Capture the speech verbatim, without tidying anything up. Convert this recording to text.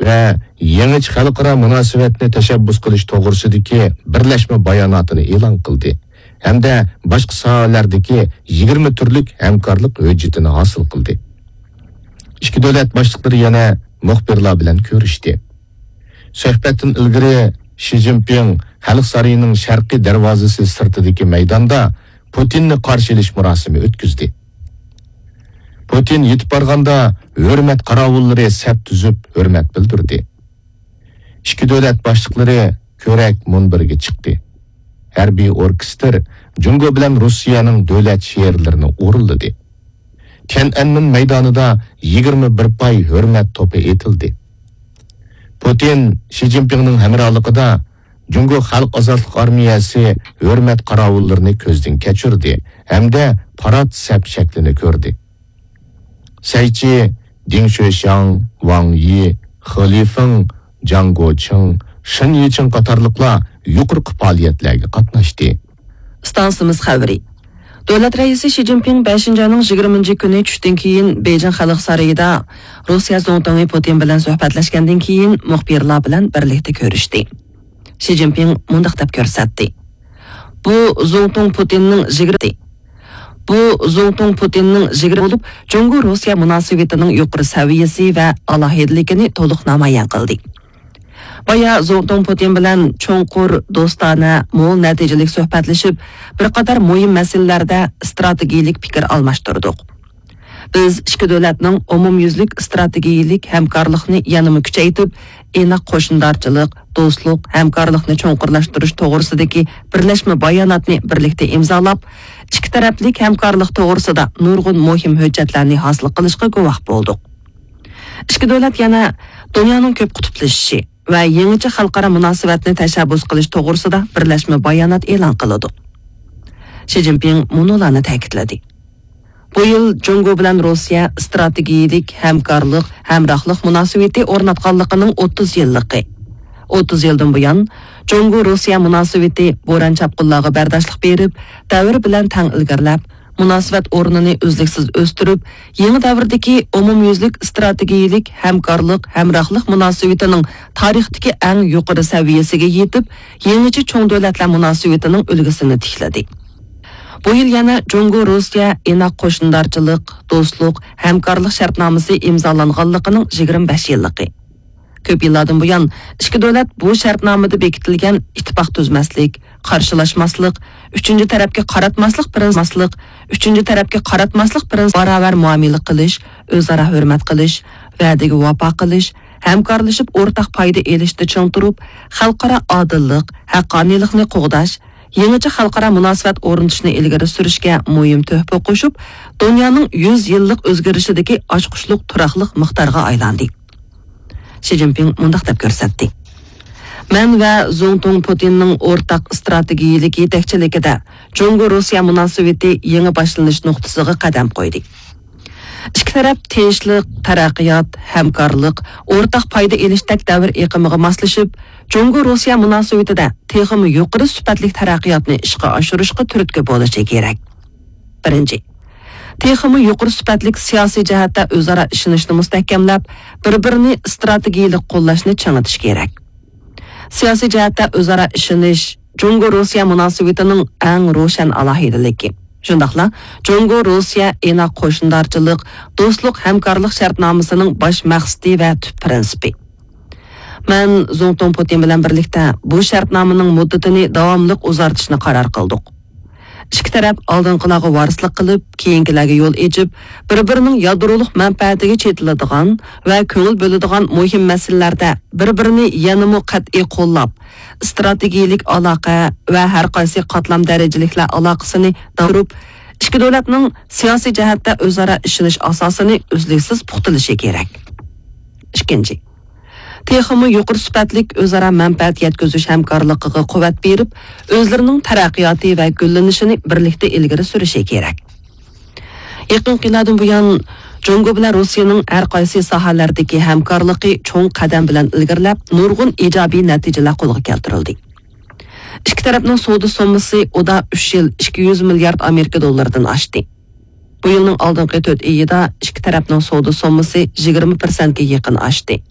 ۋە يېڭىچە خەلقئارا مۇناسىۋەتنى تەشەببۇس قىلىش توغرىسىدىكى بىرلەشمە باياناتىنى ئېلان قىلدى ھەمدە باشقا ساھەلەردىكى يىگىرمە تۈرلۈك ھەمكارلىق ھۆججىتىنى ھاسىل قىلدى. ئىككى دۆلەت باشلىقلىرى يەنە مۇخبىرلار بىلەن كۆرۈشتى. سۆھبەتتىن ئىلگىرى شى جىنپىڭ خەلق سارىيىنىڭ شەرقىي دەرۋازىسى سىرتىدىكى مەيداندا پۇتىننى قارشى ئېلىش مۇراسىمى ئۆتكۈزدى. پۇتىن يېتىپ بارغاندا ھۆرمەت قاراۋۇللىرى سەپ تۈزۈپ ھۆرمەت بىلدۈردى. ئىككى دۆلەت باشلىقلىرى كۆرەك مۇنبىرىگە چىقتى. ھەربىي ئوركېستىر جۇڭگو بىلەن روسىيەنىڭ دۆلەت شېئىرلىرىنى ئورۇنلىدى. تيەنئەنمېن مەيدانىدا يىگىرمە بىر پاي ھۆرمەت توپى ئېتىلدى. پۇتىن شى جىنپىڭنىڭ ھەمراھلىقىدا جۇڭگو خەلق ئازادلىق ئارمىيەسى ھۆرمەت قاراۋۇللىرىنى كۆزدىن كەچۈردى ھەمدە پارات سەپ شەكلىنى كۆردى. سەيچى، دېڭ شۆشياڭ، ۋاڭ يى، خې لىفېڭ، جاڭ گوچىڭ، شېن يىچىڭ قاتارلىقلار يۇقىرىقى پائالىيەتلەرگە قاتناشتى. ئىستانسىمىز خەۋىرى. دۆلەت رەئىسى شى جىنپىڭ بەشىنچى ئاينىڭ يىگىرمىنچى كۈنى چۈشتىن كېيىن بېيجىڭ خەلق سارىيىدا روسىيە زۇڭتۇڭى پۇتىن بىلەن سۆھبەتلەشكەندىن كېيىن مۇخبىرلار بىلەن بىرلىكتە كۆرۈشتى. شى جىنپىڭ مۇنداق دەپ كۆرسەتتى: بۇ زۇڭتۇڭ پۇتىننىڭ يىگىرمە، بۇ زۇڭتۇڭ پۇتىننىڭ يىگىرمە بولۇپ، جۇڭگو روسىيە مۇناسىۋىتىنىڭ يۇقىرى سەۋىيەسى ۋە ئالاھىدىلىكىنى تولۇق نامايان قىلدى. بايا زۇڭتۇڭ پۇتىن بىلەن چوڭقۇر، دوستانە، مول نەتىجىلىك سۆھبەتلىشىپ، بىر قاتار مۇھىم مەسىلىلەردە ئىستراتېگىيىلىك پىكىر ئالماشتۇردۇق. بىز ئىككى دۆلەتنىڭ ئومۇميۈزلۈك ئىستراتېگىيىلىك ھەمكارلىقنى يەنىمۇ كۈچەيتىپ، ئىناق قوشنىدارچىلىق، دوستلۇق، ھەمكارلىقنى چوڭقۇرلاشتۇرۇش توغرىسىدىكى بىرلەشمە باياناتنى بىرلىكتە ئىمزالاپ، ئىككى تەرەپلىك ھەمكارلىق توغرىسىدا نۇرغۇن مۇھىم ھۆججەتلەرنى ھاسىل قىلىشقا گۇۋاھ بولدۇق. ئىككى دۆلەت يەنە دۇنيانىڭ كۆپ قۇتۇپلىشىشى ۋە يېڭىچە خەلقئارا مۇناسىۋەتنى تەشەببۇس قىلىش توغرىسىدا بىرلەشمە بايانات ئېلان قىلىدۇ. شى جىنپىڭ مۇنۇلارنى تەكىتلىدى: بۇ يىل جۇڭگو بىلەن روسىيە ئىستراتېگىيىلىك ھەمكارلىق، ھەمراھلىق مۇناسىۋىتى ئورناتقانلىقىنىڭ ئوتتۇز يىللىقى. ئوتتۇز يىلدىن بۇيان، جۇڭگو روسىيە مۇناسىۋىتى بوران چاپقۇنلارغا بەرداشلىق بېرىپ، دەۋر بىلەن تەڭ ئىلگىرىلەپ، مۇناسىۋەت ئورنىنى ئۈزلۈكسىز ئۆستۈرۈپ، يېڭى دەۋردىكى ئومۇميۈزلۈك ئىستراتېگىيىلىك ھەمكارلىق، ھەمراھلىق مۇناسىۋىتىنىڭ تارىختىكى ئەڭ يۇقىرى سەۋىيەسىگە يېتىپ، يېڭىچە چوڭ دۆلەتلەر مۇناسىۋىتىنىڭ ئۈلگىسىنى تىكلىدى. بۇ يىل يەنە جۇڭگو روسىيە ئىناق قوشنىدارچىلىق، دوستلۇق، ھەمكارلىق شەرتنامىسى ئىمزالانغانلىقىنىڭ يىگىرمە بەش يىللىقى. كۆپ يىللاردىن بۇيان، ئىككى دۆلەت بۇ شەرتنامىدە بېكىتىلگەن ئىتتىپاق تۈزمەسلىك، قارشىلاشماسلىق، ئۈچىنچى تەرەپكە قاراتماسلىق پىرىنسىپى، ئۈچىنچى تەرەپكە قاراتماسلىق پىرىنسىپى، باراۋەر مۇئامىلە قىلىش، ئۆزئارا ھۆرمەت قىلىش، ۋەدىگە ۋاپا قىلىش، ھەمكارلىشىپ ئورتاق پايدا ئېلىشتا چىڭ تۇرۇپ، خەلقئارا ئادىللىق، ھەققانىيلىقنى قوغداش، يېڭىچە خەلقئارا مۇناسىۋەت ئورنىتىشنى ئىلگىرى سۈرۈشكە مۇھىم تۆھپە قوشۇپ، دۇنيانىڭ يۈز يىللىق ئۆزگىرىشىدىكى ئاچقۇچلۇق تۇراقلىق مىقدارغا ئايلاندى. شى جىنپىڭ مۇنداق دەپ كۆرسەتتى: مەن ۋە زۇڭتۇڭ پۇتىننىڭ ئورتاق ئىستراتېگىيىلىك يېتەكچىلىكىدە جۇڭگو روسىيە مۇناسىۋىتى يېڭى باشلىنىش نۇقتىسىغا قەدەم قويدى. ئىككى تەرەپ تىنچلىق، تەرەققىيات، ھەمكارلىق، ئورتاق پايدا ئېلىشتەك دەۋر ئېقىمىغا ماسلىشىپ، جۇڭگو روسىيە مۇناسىۋىتىدە تېخىمۇ يۇقىرى سۈپەتلىك تەرەققىياتنى ئىشقا ئاشۇرۇشقا تۈرتكە بولۇشى كېرەك. بىرىنچى، تېخىمۇ يۇقىرى سۈپەتلىك سىياسىي جەھەتتە ئۆزئارا ئىشىنىشنى مۇستەھكەملەپ، بىر-بىرىنى ئىستراتېگىيىلىك قوللاشنى چىڭىتىش كېرەك. سىياسىي جەھەتتە ئۆزئارا ئىشىنىش جۇڭگو روسىيە مۇناسىۋىتىنىڭ ئەڭ روشەن ئالاھىدىلىكى. شۇنداقلا جۇڭگو روسىيە ئىناق قوشنىدارچىلىق، دوستلۇق ھەمكارلىق شەرتنامىسىنىڭ باش مەقسىتى ۋە تۈپ پىرىنسىپى. مەن زۇڭتۇڭ پۇتىن بىلەن بىرلىكتە بۇ شەرتنامىنىڭ مۇددىتىنى داۋاملىق ئۇزارتىشنى قارار قىلدۇق. ئىككى تەرەپ ئالدىنقىلارغا ۋارىسلىق قىلىپ، كېيىنكىلەرگە يول ئېچىپ، بىر-بىرىنىڭ يادرولۇق مەنپەئەتىگە چېتىلىدىغان ۋە كۆڭۈل بۆلىدىغان مۇھىم مەسىلىلەردە بىر-بىرىنى يەنىمۇ قەتئىي قوللاپ، ئىستراتېگىيىلىك ئالاقە ۋە ھەر قايسى قاتلام دەرىجىلىكلەر ئالاقىسىنى داۋاملاشتۇرۇپ، ئىككى دۆلەتنىڭ سىياسىي جەھەتتە ئۆزئارا ئىشىنىش ئاساسىنى ئۈزلۈكسىز پۇختىلىشى كېرەك. ئىككىنچى، تېخىمۇ يۇقىرى سۈپەتلىك ئۆزئارا مەنپەئەت يەتكۈزۈش ھەمكارلىقىغا قۇۋۋەت بېرىپ، ئۆزلىرىنىڭ تەرەققىياتى ۋە گۈللىنىشىنى بىرلىكتە ئىلگىرى سۈرۈشى كېرەك. يېقىنقى يىللاردىن بۇيان، جۇڭگو بىلەن روسىيەنىڭ ھەر قايسى ساھەلەردىكى ھەمكارلىقى چوڭ قەدەم بىلەن ئىلگىرىلەپ، نۇرغۇن ئىجابىي نەتىجىلەر قولغا كەلتۈرۈلدى. ئىككى تەرەپنىڭ سودا سوممىسى ئۇدا ئۈچ يىل ئىككى يۈز مىليارد ئامېرىكا دوللىرىدىن ئاشتى. بۇ يىلنىڭ ئالدىنقى تۆت ئېيىدا ئىككى تەرەپنىڭ سودا سوممىسى يىگىرمە پىرسەنتكە يېقىن ئاشتى.